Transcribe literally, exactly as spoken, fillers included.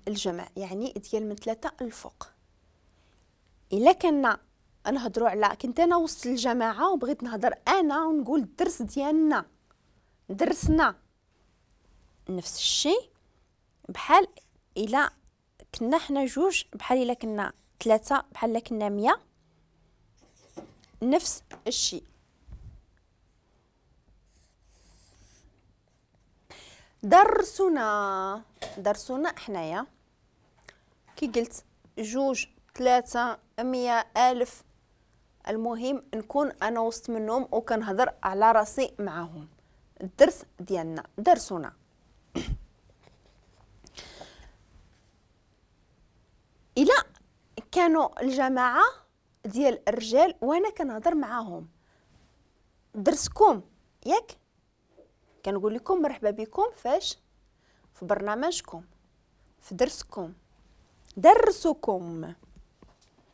الجمع، يعني ديال من ثلاثة الفوق. الا كنا نهضروا على كنت انا وسط الجماعة وبغيت نهضر انا ونقول الدرس ديالنا درسنا، نفس الشيء بحال الا كنا حنا جوج، بحال الا كنا ثلاثة، بحال الا كنا مية، نفس الشيء. درسنا درسنا حنايا كي قلت جوج ثلاثة مية ألف، المهم نكون أنا وسط منهم وكنهضر على راسي معاهم. الدرس ديالنا درسنا. إلا كانوا الجماعة ديال الرجال وأنا كنهضر معاهم درسكم، ياك كنقول لكم مرحبا بكم فاش في برنامجكم في درسكم درسكم.